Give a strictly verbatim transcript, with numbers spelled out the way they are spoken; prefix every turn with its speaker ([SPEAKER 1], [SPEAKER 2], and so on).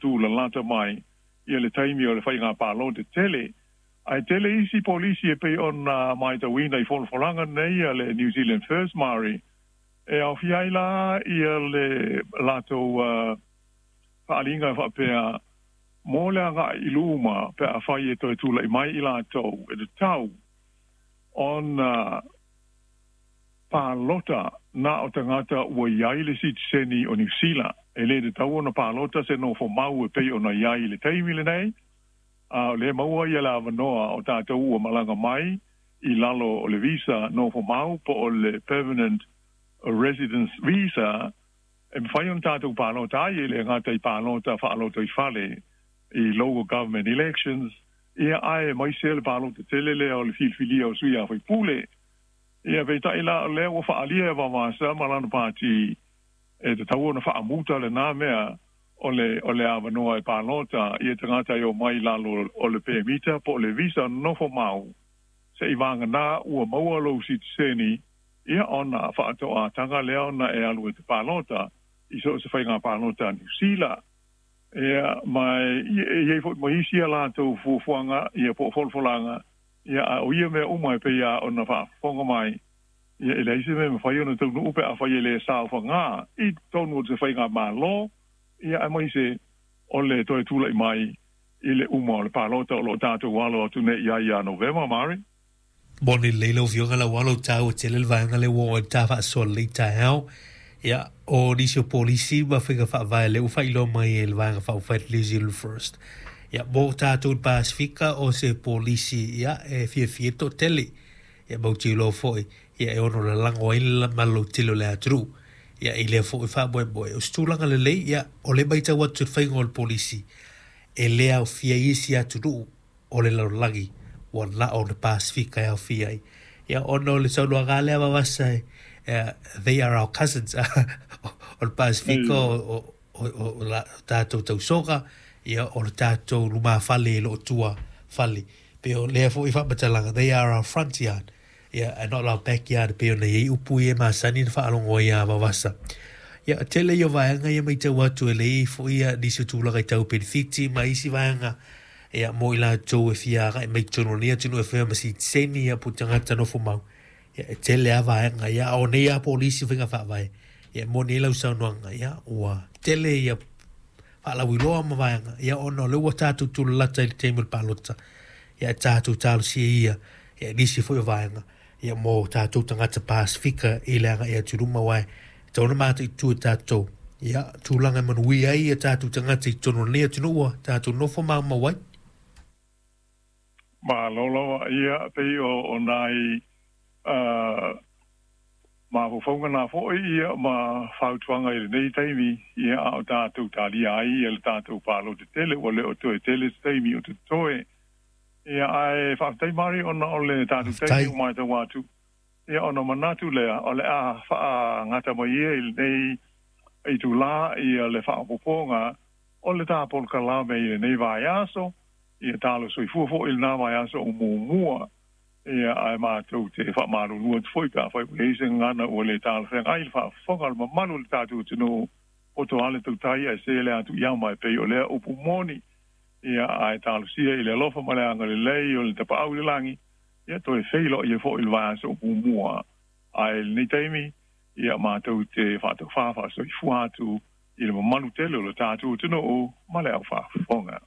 [SPEAKER 1] tūlalata mai ia le taimi o le faiga palota tele. Ae tele isi polisi e pei ona matauina i folafolaga nei a le New Zealand First, Mari, e aofia ai la ia le latou uh, faaaliga e faapea mo le agai i luma pe afai e toe tula'i mai i latou e tatau ona palota na o tagata ua iai le sitiseni o Niusila. E lē tatau ona palota se nofo mau e pei ona iai i le taimi lenei, a o lē maua ia le avanoa o tatou ua malaga mai i lalo o le visa nofo mau po o le permanent residence visa e mafai ona tatou palota ai e le gata i palota faalotoifale i local government elections, ia ae maise le palota tele lea o le filifilia o sui a faipule. Ia peitai la o lea ua faaalia e Vaovaasa ma lana pati e tatau ona faamuta lenā mea o le o le avanoa e palota ia tagata e omai lalo o le pemita po o le visa nofo mau seʻi vaganā ua maua lou sitiseni, ia ona faatoʻataga lea ona e alu e te palota i so o se faiga palota a Niusila. Ia ma e iai foʻi ma isi a latou fuafuaga ia po o folafolaga, ia a o ia mea uma e pei a ona faafofoga mai, ia e leai se mea mafai ona taunuu pe afai e lē saofagā i totonu o se faiga mālō, ia aemaise o le toe tulaʻi mai i le uma o le palota o loo tatou alo atu nei iai iā Novema, Mari.
[SPEAKER 2] Moni lelei lau Afioga lau alo taua tele le vaega lea ua oo ai le ta faasoa lelei taeao. Ia, o nisi o polisi ma faiga faavae lea ua faailoa mai e le Vaega Faaupufai New Zealand First. Ia, mo tatou i le Pasefika o se polisi ia e fiafia ai le toatele. Ia matou te iloa foi ia e ono lalago ai le maloloutele o le atunuu. Ia i lea foi faamoemoe o se tulaga lelei, ia o le matau atu i le faiga o le polisi e le aofia ai isi atunuu o le lalolagi ua na o le Pasefika e aofia ai. Ia ona o le saunoaga lea Vaovaasa e they are our cousins o le Pasefika o, o, o, o la tatou tausoga, ia o le tatou lumafale e loo tua fale. Pe o lea foi faamatalaga, they are our front yard ia and not our backyard, pei ona iai upu ia e masani na faalogo ai a Vaovaasa. Ia tele ia o vaega ia matau atu e leai foi ia nisi o tulaga i tau penefiti ma isi vaega ia mo i latou e fia agai mai totonu o lenei atunuu e faia ma sitiseni ia po o tagata nofo mau. Ia e tele lava vaega ia a o nei lava polisi o faiga faavae ia e moni ai lau saunoaga ia ua tele ia faalauiloa ma vaega ia ona o lea ua tatou tulalata i le taimi o le palota ia e tatou talosia ia ia nisi foi o vaega ia mo tatou tagata Pasefika i le agai atu i luma aua e tatau ona mataitu e tatou ia tulaga e manuia ai ia tatou tagata i totonu o lenei atunuu ua tatou nofo maumau ai.
[SPEAKER 1] Malo lava ia pei o o nai uh, mafaufauga na foʻi ia ma fautuaga i lenei taimi, ia a o tatou talia ai ia le tatou palota tele ua le o toe tele se taimi o totoe. Ia ae faafetai Mari ona o le tatou taimi
[SPEAKER 2] Faafetai.
[SPEAKER 1] ua matau atu, ia ona manatu lea o le a faagata mai ia i lenei itulā ia le faaopoopoga o le tā polokalame i lenei vaiaso, ia talo soifua foʻi i lenā vaiaso o muamua. Ia ae matou te faamalulu atu foi pe afai ua iai se gagana ua lē talafeagai i le faafofoga a le mamalu o le tatou atunuu poto ale tautai ae se le atu iama e pei o lea upu moni. Ia ae talosia i le alofa ma le agalelei o le Tapaau i le lagi ia toe feiloai ai foʻi i le vaiaso o muamua. Ae i lenei taimi ia matou te faataufā faasoifua atu i le mamalu tele o le tatou atunuu ma le aufaafofoga.